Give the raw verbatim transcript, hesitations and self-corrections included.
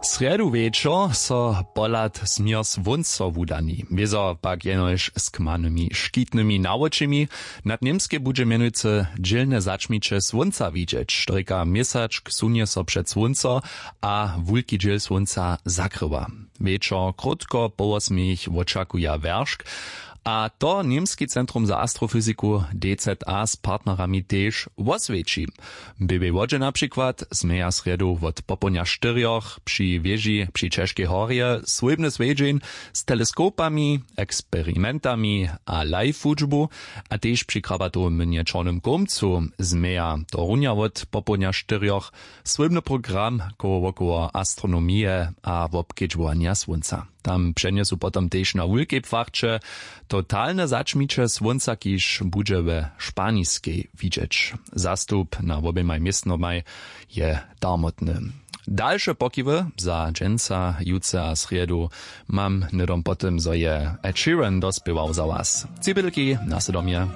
Srjedu wječor so pohlad směr słónco wudani, wězo pak jenož z kmanymi škitnymi nawočimi. Nad němskej budźe mjenujcy dźělne začmiće słónca widźeć, štojka měsačk sunje so před słónco a wulki dźěl słónca zakrywa. Wječor krótko po wosmich wočakuja wjeršk. A to němski centrum za astrofyziku D Z A z partnerami tež woswjeći. W běłej wodźe na přikład změja srjedu wot popołdnja štyrjoch při wěži při ćežkej horje swójbny swjedźeń z teleskopami, eksperimentami a live wučbu. A tež při krabatowym mjenje čornym kołmcu změja to runja wot popołdnja štyrjoch swójbny program koło wokoło astronomije a wobkedźbowanja słónca. Tam přenjesu potom tež na wulkej płachće. Totalne začmiće słónca, kiž budźe we Španiskej widźeć. Zastup na woběmaj městnomaj je darmotny. Dalše pokiwy za dźensa, jutře a srjedu mam hnydom po tym, zo je Ed Sheeran dospěwał za was. Tři bědlki nasledomje.